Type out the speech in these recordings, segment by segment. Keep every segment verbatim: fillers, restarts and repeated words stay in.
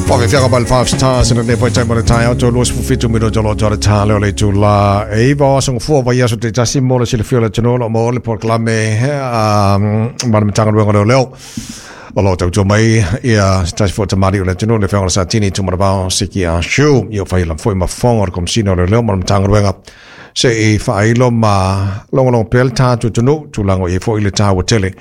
Whawhiwhianga by the five stars and le time o le tai auto luas fufitu mino tolo tolo tale o le tula e iwa o songo fua vai aso te tasi mo le silafia le tanola mo le porklame ma le matanga luenga leo leo o lo tautua mai ia tasi fua tamari o le tanola le whenga le satini tumarabao siki a shu i o whaila fui mafonga o le komsina o le leo ma le matanga luenga se i whailo ma longo longo pele tātu tunu tūlango i fo i le tāua tele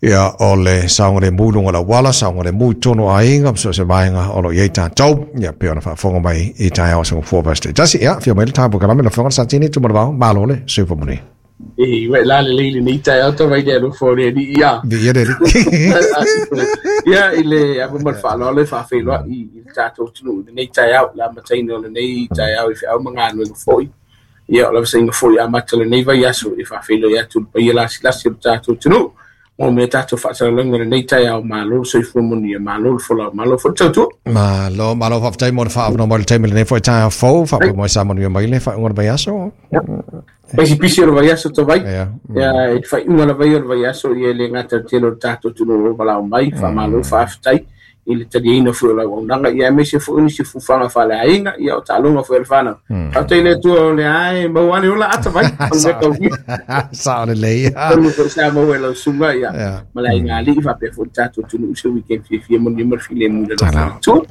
ia o le saonga le mulunga la wala saonga le mu tono aiga so se vaenga o lo i tātou ia pe ona whaafonga mai i tai ao songo fua vaste tasi ia fia mai le tāpu kalame la whanga satini tumarabao malo le super moni e we la le le ni tai ao vai le lo fo le ni ia ia le ia i le abu mal fa lo le fa fe lo i tātou tunu nei tai ao la mataino le nei tai ao i whiau mangano i foi ia o la vasaina foi a mata le nei vai aso i whawhelo ia tu pa ia lasi lasi o tātou tunu o me tātou whaasalanga le nei tai ao malo soifua moni ia malo le folau malo fo tautua malo malo whaftai mo le whaavano mo le taimi le nei foi tai ao fou whapea mo sa manu ia mai le whaunga le vai aso Paisi pisi o le vai aso tawai ia e whaiunga le vai o le vai aso ia le ngata tele o tātou tunu o walau mai whamalo whaaftai i le taliaina fui o lau aunaga ia aemaise foi nisi fufuaga faaleaiga ia o taaloga foi a le fanau faafetai le Atua o le ae maua ane ola ata vai o le taugia sao lelei tonu foi sa maua e lau suga ia ma le aiga alii faapea foi le tatou atunuu se weekend fiafia manuia ma le filemu i le alofa o le Atua.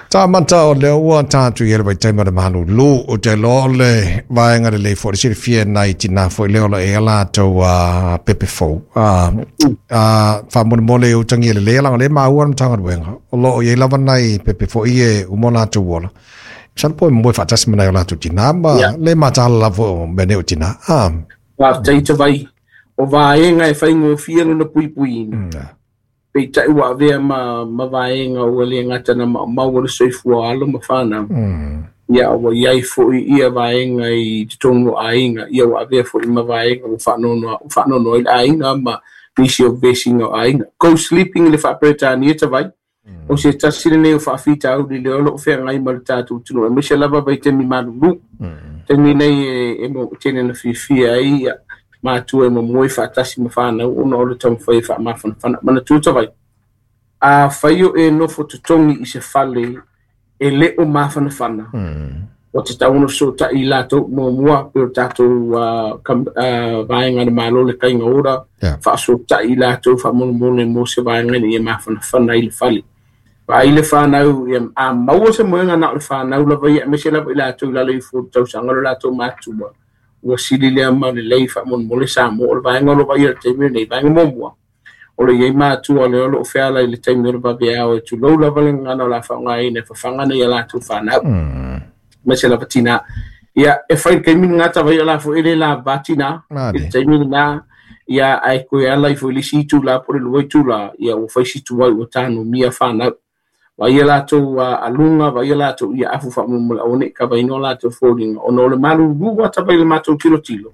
Tā mata o lea ua tātu i ele vai taima le malu lū o te loa o le vaenga le lei fo le silafia nai tina foi leo la e ala tau a pepe fou. A whamonemole o tangi ele lea langa le maua na matanga ruenga. O lo o iei lava nai pepe fo i e umo lātou ola. Sana po e moe whaatasi manai o lātou tina ma le mātāla lava o mene o tina. Wā te vai o vaenga e whaingofia lona puipuiina. Peitai ua avea ma, ma vaenga ua le gata na maumau o le soifua alo ma whanau. Ia ua iai foi ia vaenga i totonu o aiga. Ia ua avea foi ma vaenga ua whaanono, whaanono i le aiga ma nisi o vesinga o aiga. Go sleeping i le whaaperetania tawai. O se tasi lenei o whaafita au li le olo o whengai ma le tātou tunu. E maise lava vai temi malulu. Temi nei e, e mo tene na fiafia ai ia. Mātua e mamoe whaatasi ma whanau ona o le taumawhai e whaamawhanawhana. Mana tūta vai. A whaio e nofo totongi i se fale e le o mawhanawhana. O te tauno so ta i lātou mua mua pe o tātou uh, uh, vaenga na malo le kainga ora. Yeah. Whaaso ta i lātou whaamonemone mo se vaenga ni e mawhanawhana i le fale. Wa i le whanau, ia, a maua se moenga na o le whanau lava ia, me se lava i lātou lalo i fō tausanga lo lātou mātua. Ua sili lea ma le lei whaamonemole sa mo o le vaenga o lo vai o le taimi nei, vaenga muamua. O le iei mātua le olo o feala i le taimi o le vaveao e tulou lava le ngana o la whaongaina e whawhanga nei a lātou whanau. Me se lava tina. Ia, e whai kaimi ngata vai o la fo ele la vatina. I le taimi nā, ia ai koe ala i fo lisi itu la po le lua itu la, ia ua whai situ ai ua tānu mia whanau. Wa ia lātou uh, alunga, wa ia lātou ia afu whaamonemole au ne ka vaino lātou fōringa. Ona o le malu rua tapai le mātou tilo tilo.